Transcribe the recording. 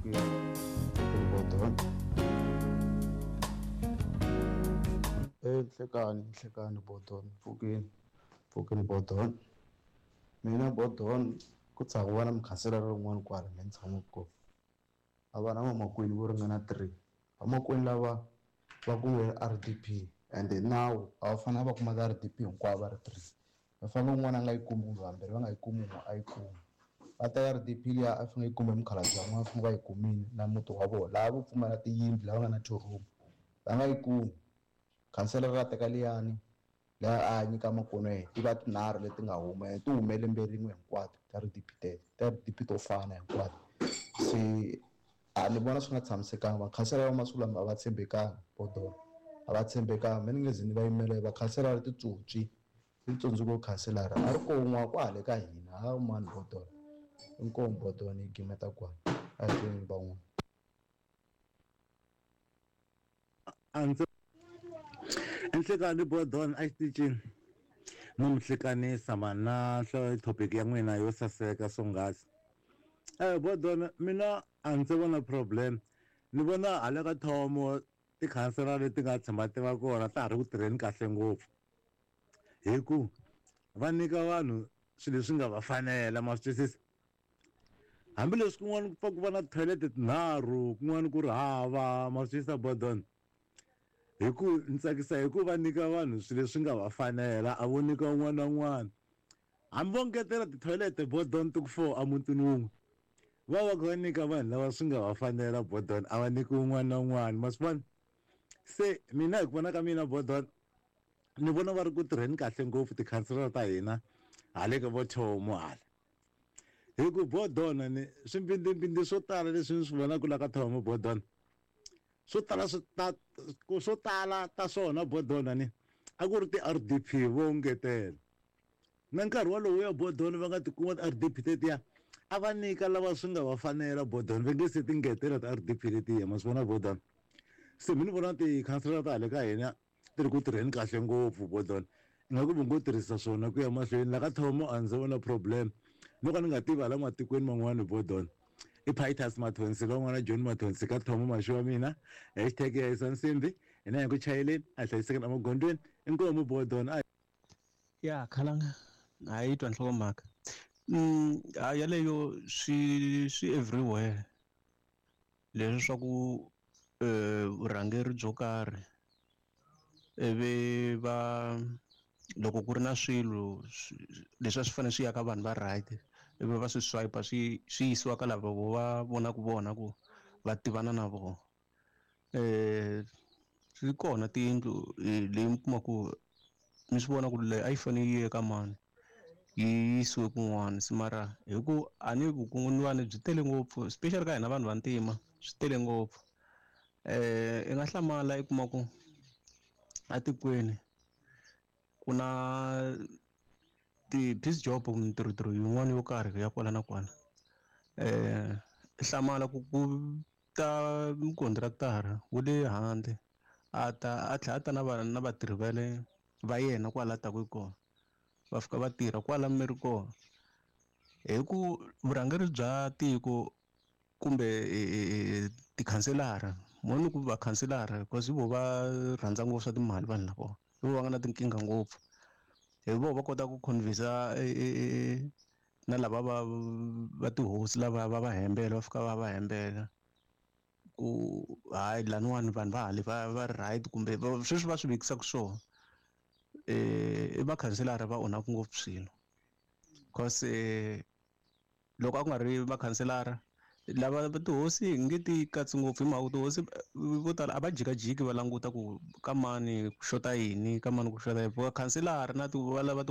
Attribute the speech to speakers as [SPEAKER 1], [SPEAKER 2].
[SPEAKER 1] Pfukini, pfukini Bodon. Nhlekani, nhlekani Bodon, pfukini, pfukini Bodon. Mina Bodon ku tshama ku va na mukhanselara rin'wana kwala me ni tshamaka kona. A va na vamakwenu vo ringana 3. Vamakwenu lava va kume RDP ende nawu a va fanele va kuma ti RDP hinkwavo va ri 3. Va fanele un'wana a nga yi kumi kumbe vambirhi va nga yi kumi un'we a yi kumi. Va teka RDP liya a fanele yi kume mukhalabye wun'wana va fanele va yi kumile na muti wa vona. Lava vo pfumala tiyindlu lava nga na 2 room va nga yi kumi. Khansela ra teka liyani liya a nyika makwenu ya yena ti va tinharhu leti nga huma ti hume lembe rin'we hinkwato ta RDP teto ta RDP to fana hinkwato. Se a ni vona swi nga tshamisekanga vakhansela va masiku lama a va tshembekanga Bodon a va tshembekanga me ni nge zi ni va yimela vakhanselara titsotsi titsundzuko khanselara a ri ko un'wana kwale ka hina ha mani Bodon inkomu Bodon yi gimeta kwala a hi tweni van'wana.
[SPEAKER 2] Enhlekani Bodon a xitichini no mi hlekanisa mani na topic ya n'wina yo saseka swonghasi. Bodon mina a ndzi vona problem ni vona hala ka thomo tikhansela leti nga tshama ti va kona ta ha ri ku tirheni kahle ngopfu hi ku va nyika vanhu swilo leswi nga va fanela ma swi twisisa hambileswi kun'wana ku pfa ku va na toilet tinharhu kun'wana ku ri hava ma swi twisisa Bodon hi ku ni tsakisa hi ku va nyika vanhu swilo leswi nga va fanela a vo nyika un'wana na un'wana hambi vo ngetela ti-toilet Bodon ti ku 4 emutini wun'we va va va nyika vanhu lava swi nga va fanela Bodon a va nyiki un'wana na un'wana ma swi vona se mina hi ku vona ka mina Bodon ni vona va ri ku tirheni kahle ngopfu tikhanselara ta hina hale ka vo Thomo hala hi ku Bodon ni swimbindzimbindzi swo tala leswi ni swi vonaka la ka Thomo Bodon swo tala swo tala ta swona Bodon ni a ku ri ti-RDP vo ngetela na nkarhi wolowo ya Bodon va nga tikuma ti-RDP tetiya a va nyika lava swi nga va fanela Bodon va nge se ti ngetela ti-RDP letiya ma swi vona Bodon se mi ni vona tikhanselara ta hale ka hina ti ri ku tirheni kahle ngopfu Bodon ingaku va ngo tirhisa swona ku ya mahlweni la ka Thomo a ndzi vona problem no ka ni nga tivi hala matikweni man'wana Bodon i Pitus Mathonsi lowun'wana John Mathonsi ka Thomo maxi wa mina hashtag ya yisa nsimbi hina hi ku chayeleni a hlayisekeni emagondzweni inkomu Bodon a
[SPEAKER 3] ya khalanga a yi twa nhlokomhaka yaleyo swi everywhere leswi swa ku vurhangeri byo karhi ivi va loko ku ri na swilo leswi a swi fanele swi ya ka vanhu va right ivi va swi swipe swi yisiwa ka lava vo va vonaka vona ku va tivana na vona. Swi kona tiyindlu leyi mi kuma ku mi swi vona ku leyi a yi fanele yi ye ka mani yi yisiwe kun'wana se mara hi ku a ni vukungundzwani byi tele ngopfu especially ka hina vanhu vantima swi tele ngopfu. I nga hlamala i kuma ku atikweni ku na ti-piece job mintirho yin'wana yo karhi ya kwala na kwala. Hlamala ku ku ta mukontraktara wa le handle a ta a tlhela a ta na vatirhi va le va yena kwala taka hi kona va fika va tirha kwala mi ri kona hi ku vurhangeri bya tiko kumbe tikhanselara moni ku vakhanselara because vo va rhandza ngopfu swa timali vanhu lava hi vo va nga na tinkingha ngopfu hi vo va kota ku convince na lava va tihosi lava va va hembela va fika va va hembela ku hayi laniwani vanhu va hali va right kumbe sweswi va swi vekisaka swona i vakhanselara va onhaka ngopfu swilo cause loko a ku nga ri vakhanselara lava tihosi nge ti katsi ngopfu hi mhaka tihosi vo tala a va jikajiki va languta ku ka mani ku xota yini ka mani ku xota yini vakhanselara na ti va lava.